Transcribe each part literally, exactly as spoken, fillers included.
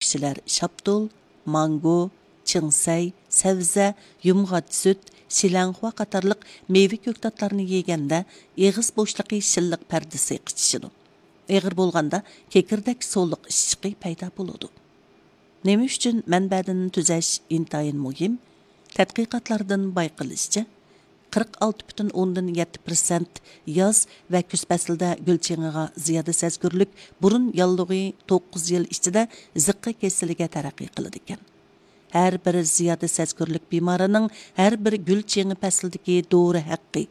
كىشىلەر شاپتۇل، مانگو، چىڭسەي، سەۋزە، يۇمغاچ سۈت، شىلەڭخۇا قاتارلىق مېۋە كۆكتاتلارنى يېگەندە ئېغىز بوشلۇقى شىللىق پەردىسى قىچىشىدۇ. ئېغىر بولغاندا كېكىردەك سۇلۇق ئىششىقى پەيدا بولىدۇ. نېمە ئۈچۈن مەنبەدىن تۈزەش ئىنتايىن مۇھىم؟ تەتقىقاتلاردىن بايقىلىشىچە، قىرىق ئالتە پۈتۈن ئوندىن يەتتە پىرسەنت ياز ۋە كۈز پەسلىدە گۈل چېڭىغا زىيادە سەزگۈرلۈك بۇرۇن ياللۇغى توققۇز يىل ئىچىدە زىققا كېسىلىگە تەرەققىي قىلىدىكەن. ھەر بىر زىيادە سەزگۈرلۈك بىمارىنىڭ ھەر بىر گۈل چېڭى پەسلىدىكى دورا ھەققى،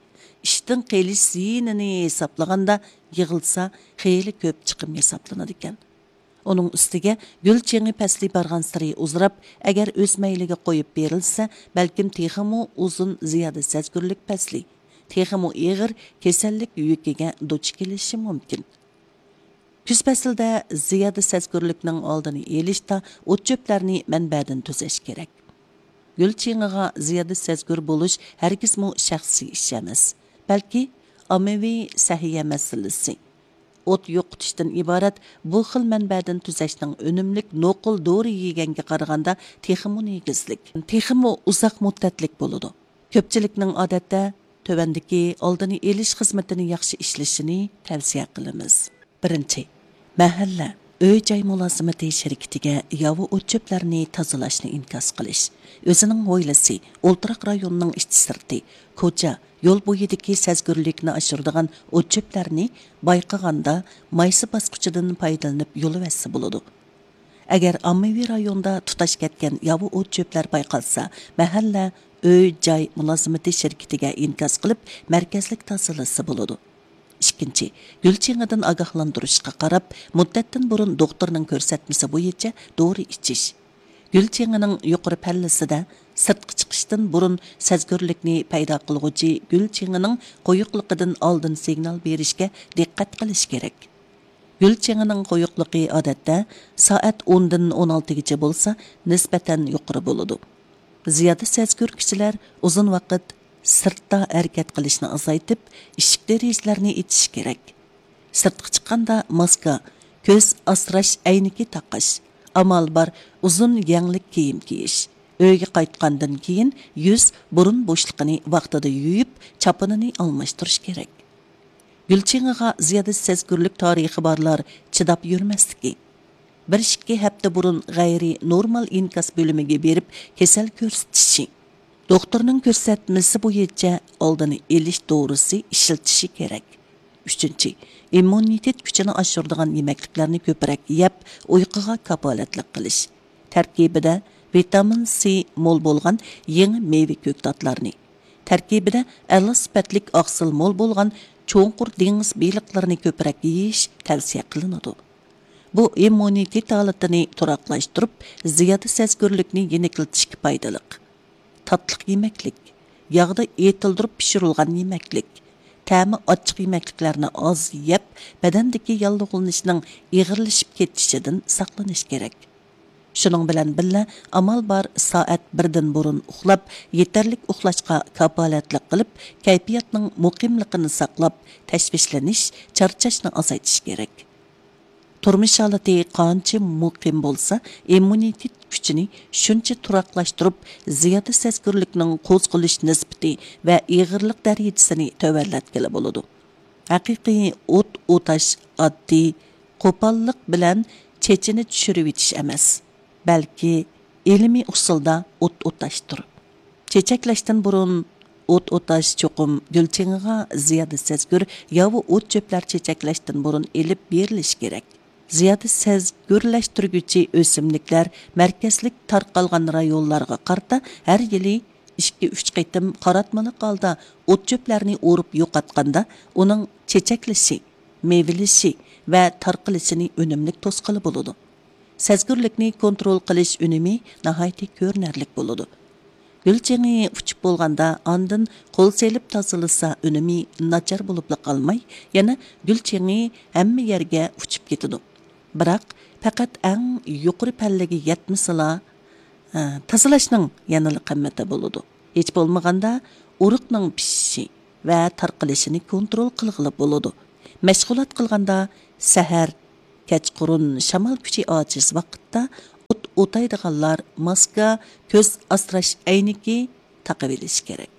ئىشتىن قېلىش زىيىنىنى ھېسابلىغاندا، يىغىلسا خېلى كۆپ چىقىم ھېسابلىنىدىكەن. ئۇنىڭ ئۈستىگە گۈل چېڭى پەسلى بارغانسېرى ئۇزىراپ، ئەگەر ئۆز مەيلىگە قويۇپ بېرىلسە، بەلكىم تېخىمۇ ئۇزۇن زىيادە سەزگۈرلۈك پەسلى، تېخىمۇ ئېغىر كېسەللىك يۈكىگە دۇچ كېلىشى مۇمكىن. كۈز پەسلىدە زىيادە سەزگۈرلۈكنىڭ ئالدىنى ئېلىشتا ئوت-چۆپلەرنى مەنبەدىن تۈزەش كېرەك. گۈل چېڭىغا زىيادە سەزگۈر بولۇش ھەرگىزمۇ شەخسىي ئىش ئەمەس، بەلكى ئاممىۋى سەھىيە مەسىلىسى. ئوت يوقىتىشتىن ئىبارەت بۇ خىل مەنبەدىن تۈزەشنىڭ ئۈنۈملۈك نوقۇل دورا يېگەنگە قارىغاندا تېخىمۇ نېگىزلىك، تېخىمۇ ئۇزاق مۇددەتلىك بولىدۇ. كۆپچىلىكنىڭ ئادەتتە تۆۋەندىكى ئالدىنى ئېلىش خىزمىتىنى ياخشى ئىشلىشىنى تەۋسىيە قىلىمىز. بىرىنچى، مەھەللە، ئۆي-جاي مۇلازىمىتى شىركىتىگە ياۋا ئوت-چۆپلەرنى تازىلاشنى ئىنكاس قىلىش. ئۆزىنىڭ ھويلىسى، ئولتۇراق رايونىنىڭ ئىچى-سىرتى، كوچا، يول بويىدىكى سەزگۈرلۈكنى ئاشۇرىدىغان ئوت-چۆپلەرنى بايقىغاندا مايسا باسقۇچىدىن پايدىلىنىپ يولىۋەتسە بولىدۇ. ئەگەر ئاممىۋى رايوندا تۇتاش كەتكەن ياۋا ئوت-چۆپلەر بايقالسا، مەھەللە، ئۆي-جاي مۇلازىمىتى شىركىتىگە ئىنكاس قىلىپ، مەركەزلىك تازىلىسا بولىدۇ. ئىككىنچى، گۈل چېڭىدىن ئاگاھلاندۇرۇشقا قاراپ، مۇددەتتىن بۇرۇن دوختۇرنىڭ كۆرسەتمىسى بويىچە دورا ئىچىش. گۈل چېڭىنىڭ يۇقىرى پەللىسىدە سىرتقا چىقىشتىن بۇرۇن سەزگۈرلۈكنى پەيدا قىلغۇچى گۈل چېڭىنىڭ قويۇقلۇقىدىن ئالدىن سىگنال بېرىشكە دىققەت قىلىش كېرەك. گۈل چېڭىنىڭ قويۇقلۇقى ئادەتتە سائەت ئوندىن ئون ئالتىگىچە بولسا، نىسبەتەن يۇقىرى بولىدۇ. زىيادە سەزگۈر كىشىلەر ئۇزۇن ۋاقىت سىرتتا ھەرىكەت قىلىشنى ئازايتىپ، ئىشىك-دېرىزىلەرنى ئېچىشى كېرەك. سىرتقا چىققاندا ماسكا، كۆز ئاسراش ئەينىكى تاقاش، ئامال بار ئۇزۇن يەڭلىك كىيىم كىيىش. ئۆيگە قايتقاندىن كېيىن يۈز، بۇرۇن بوشلۇقىنى ۋاقتىدا يۇيۇپ، چاپىنىنى ئالماشتۇرۇش كېرەك. گۈل چېڭىغا زىيادە سەزگۈرلۈك تارىخى بارلار چىداپ يۈرمەسلىكى. بىر ئىككى ھەپتە بۇرۇن غەيرىي نورمال ئىنكاس بۆلۈمىگە بېرىپ كېسەل كۆرسىتىشى. دوختۇرنىڭ كۆرسەتمىسى بويىچە ئالدىنى ئېلىش دورىسى ئىشلىتىشى كېرەك. ئۈچىنچى، ئىممۇنىتېت كۈچىنى ئاشۇرىدىغان يېمەكلىكلەرنى كۆپرەك يەپ، ئۇيقۇغا كاپالەتلىك قىلىش. تەركىبىدە ۋىتامىن سى مول بولغان يېڭى مېۋە كۆكتاتلارنى، تەركىبىدە ئەلا سۈپەتلىك ئاقسىل مول بولغان چوڭقۇر دېڭىز بېلىقلىرىنى كۆپرەك يېيىش تەۋسىيە قىلىنىدۇ. بۇ ئىممۇنىتېت ھالىتىنى تۇراقلاشتۇرۇپ، زىيادە سەزگۈرلۈكنى يېنىكلىتىشكە پايدىلىق. تاتلىق يېمەكلىك، ياغدا ئېتىلدۇرۇپ پىشۇرۇلغان يېمەكلىك، تەمى ئاچچىق يېمەكلىكلەرنى ئاز يەپ، بەدەندىكى ياللۇغلىنىشنىڭ ئېغىرلىشىپ كېتىشىدىن ساقلىنىش كېرەك. شۇنىڭ بىلەن بىللە، ئامال بار سائەت بىردىن بۇرۇن ئۇخلاپ، يېتەرلىك ئۇخلاشقا كاپالەتلىك قىلىپ، كەيپىياتنىڭ مۇقىملىقىنى ساقلاپ، تەشۋىشلىنىش، چارچاشنى ئازايتىش كېرەك. تۇرمۇش ھالىتى قانچە مۇقىم بولسا، ئىممۇنىتېت كۈچىنى شۇنچە تۇراقلاشتۇرۇپ، زىيادە سەزگۈرلۈكنىڭ قوزغىلىش نىسبىتى ۋە ئېغىرلىق دەرىجىسىنى تۆۋەنلەتكىلى بولىدۇ. ھەقىقىي ئوت ئوتاش ئاددىي قوپاللىق بىلەن چېچىنى چۈشۈرۈۋېتىش ئەمەس، بەلكى ئىلمىي ئۇسۇلدا ئوت ئوتاشتۇر. چېچەكلەشتىن بۇرۇن ئوت ئوتاش چوقۇم گۈل چېڭىغا زىيادە سەزگۈر ياۋا ئوت چۆپلەر چېچەكلەشتىن بۇرۇن ئېلىپ بېرىلىشى كېرەك. زىيادە سەزگۈرلەشتۈرگۈچى ئۆسۈملۈكلەر مەركەزلىك تارقالغان رايونلارغا قارىتا ھەر يىلى ئىككى، ئۈچ قېتىم قاراتمىلىق ھالدا ئوت چۆپلەرنى ئورۇپ يوقاتقاندا، ئۇنىڭ چېچەكلىشى، مېۋىلىشى ۋە تارقىلىشىنى ئۈنۈملۈك توسقىلى بولىدۇ. سەزگۈرلۈكنى كونترول قىلىش ئۈنۈمى ناھايىتى كۆرۈنەرلىك بولىدۇ. گۈل چېڭى ئۇچۇپ بولغاندا ئاندىن قول سېلىپ تازىلىسا ئۈنۈمى ناچار بولۇپلا قالماي، يەنە گۈل چېڭى ھەممە يەرگە ئۇچۇپ كېتىدۇ. بىراق پەقەت ئەڭ يۇقىرى پەللىگە يەتمىسىلا، ئە، تازىلاشنىڭ يەنىلا قىممىتى بولىدۇ. ھېچ بولمىغاندا ئۇرۇقنىڭ پىشىشى ۋە تارقىلىشىنى كونترول قىلغىلى بولىدۇ. مەشغۇلات قىلغاندا سەھەر، كەچقۇرۇن شامال كۈچى ئاجىز ۋاقىتتا ئوت ئوتايدىغانلار ماسكا، كۆز ئاسراش ئەينىكى تاقىۋېلىشى كېرەك.